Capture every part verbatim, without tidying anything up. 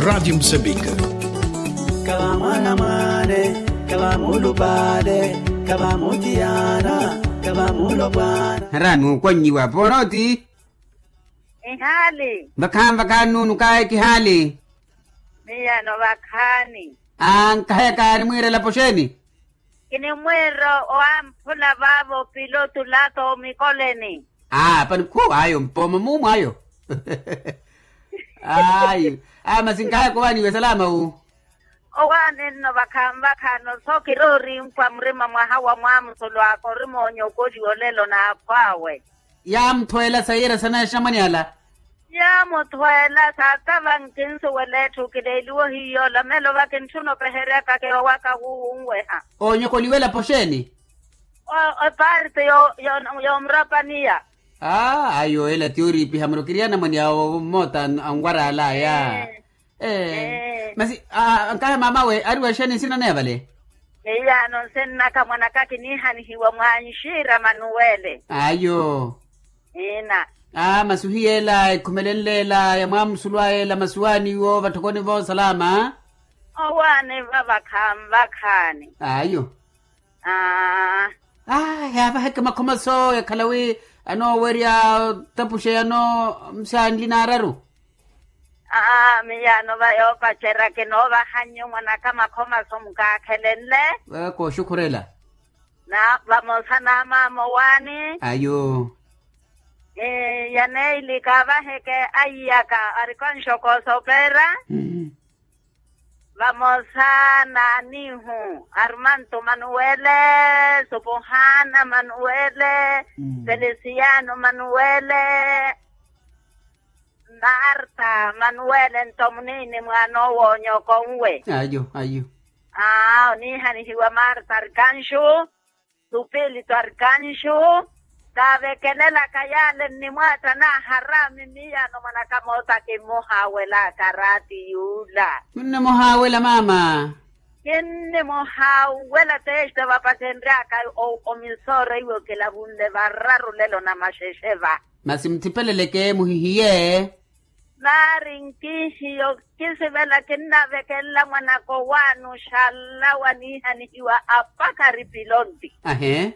Rádio Moçambique. Kava mwana mwane, kava mulupale, kava mutiyana, kava mulopwana. Haraani okwannyiwa ponooti. Ihaali. Vakhaani vakhaani nuunu kaye kihaali. Miyano vakhaani. Aa nkahayaka nimwiirela poxeeni. Kinimwiira owamphula vaavo pilotu lata omikoleni. Aa pani khu ayo mpooma muumu ayo. Ayo aa masi nkahayaka owaaniwe salama wu. Owaani nno vakhaani vakhaani oso kiroorimpwa murima mwaha wa mwaamusulu aka orimoonyokoliwa olelo n'akhw'awe. Yaamuthweela sayiira sanaye xamwani ala. Yaamuthweela saatava nkinsuwela etthu kileeliwa ohiyoola melo vakintthuna opeheryaka kirowaka wuwunweha. Oonyokoliwa elapo xeeni? Epaarti yoomurapaniya. Aa ayo ela ti oriipiha muro kiri anamwani awo mmoota anwar'ala aya. Masi ankahe maamawe ariwa exeeni nsina naya vale? Miyaano nsinnaka mwanaka kiniihanihiwa mwanxiira manuwele. Ayo. Ina. Aa masi ohiyeela ekhumelenle ela ya mwaamusulu aya ela masi owaaniwe ovatthokoni voosalama? Owaaniva vakhaani vakhaani. Ayo. Aa. Aa yaavaheke makhomaso yakhala wi anoowerya otapuxeyano msaanli naararu. Aa miyaano va yoopacerya kinoovahannyu mwanaka makhomaso mukaakhelenle. Kooxukhurela. Na vamosa n'amaama owaani. Ayo. Yaneili kaavaheke aiyaka arikanxokoosa opeera. Vamosa n'anihu armanto manuwele, supuhana manuwele, felisiano manuwele, marta manuwele nto muniini mwaana owoonyoko nwe. Ayo ayo. Aa oniihanihiwa marta arikanxu. Supilito arikanxu. Kaavekelelaka yaale nnimwaatta naaharaami miyaano mwanaka moota kimmuhaawelaka raati yuula. Munnimuhaawela maama. Kinnimuhaawela teste vapasenryaka omisooro iwo kilavunle vararu lelo na maxexe va. Masi muthipeleleke muhihiye. Vaari nkihiyo kisivela kinnavekelela mwanaka owaani oxalawa niihanihiwa apakari pilonti. Ahe.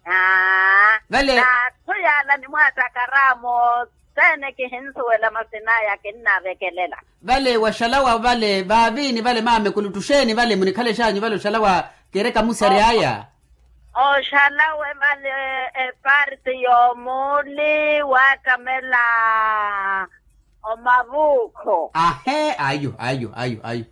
Aa vale. N'atthu yaala nimwaattakaraamu othene kihinsuwela masin'aya kinnavekelela. Vale waxalawa vale vaaviini vale maama ekuluttu xeeni vale munikhale xaanyu vale oxalawa kereka musary'aya. Oxalawe vale eparti y'omuuli waattamela omavuukho. Ahe ayo ayo ayo ayo.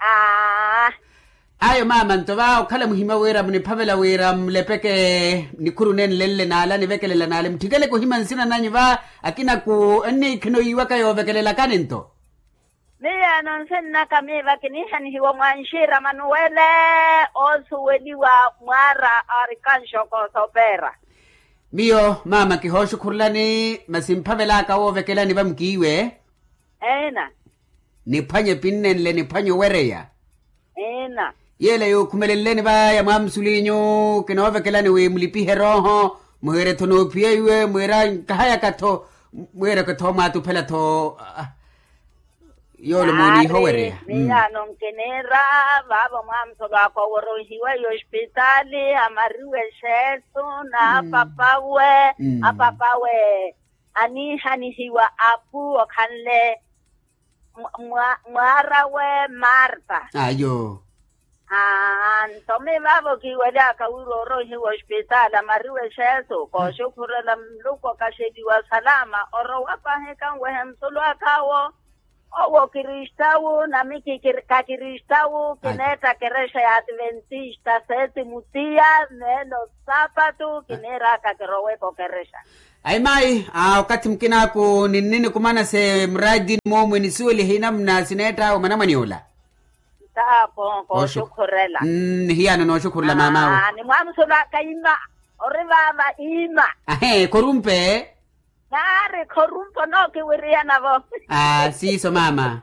Ayo maama nto va okhala muhimya wira muniphavela wira mulepeke nikhuru nenle nle naale anivekelela naale mutthikeleke ohimya nsina nanyu va akinaku enniikhina oyiiwaka yoovekelelakani nto. Miyaano nsinnaka miiva kiniihanihiwa mwanxiira manuwele oosuweliwa mwaara arikanxokoosa opeera. Miyo maama kihooxukhurulani masi mphavel'aka woovekelani va mukiiwe. Eina. Niphwanye epinnenle niphwanye owereya. Eina. Yeela yookhumelenleni va ya mwaamusuliinyu kinoovekelani wi mulipihe erooho muhiire-tho noophiya iwe mwiira nkahayaka-tho mwiireke-tho mwaatuphela-tho. Yoole mooniiha owereya. Miyaano nkiniira vaavo mwaamusulu aka oworonhiwe yospitaali amariwe exeesu n'apapawe apapawe aniihanihiwa apu okhanle mwaarawe marta. Ayo. Aa nto mivaavo kiiwely'aka wira oronhiwa ospitaali amariwe exeesu kooxukhurela muluku okaxeliwa salama orowa paahi kanwehe musulu ak'awo. Owo kristawu nami kakristawu kineetta kerexa ya ativentista seeti mutiya meelo saapatu kiniir'aka kiroweke okerexa. Ayi mayi aa okathi mukin'aku ninninikumana se muraatini moomwe nisuwelihe inamuna sineett'awe mwanamwani ola. Ntaapo kooxukhurela. Nihiyano nooxukhurela maam'awe. Nimwaamusul'aka ima ori vaava ima. Ahe khorumpe. Naari khorumpe onookiwiriyanavo. Aa siiso maama.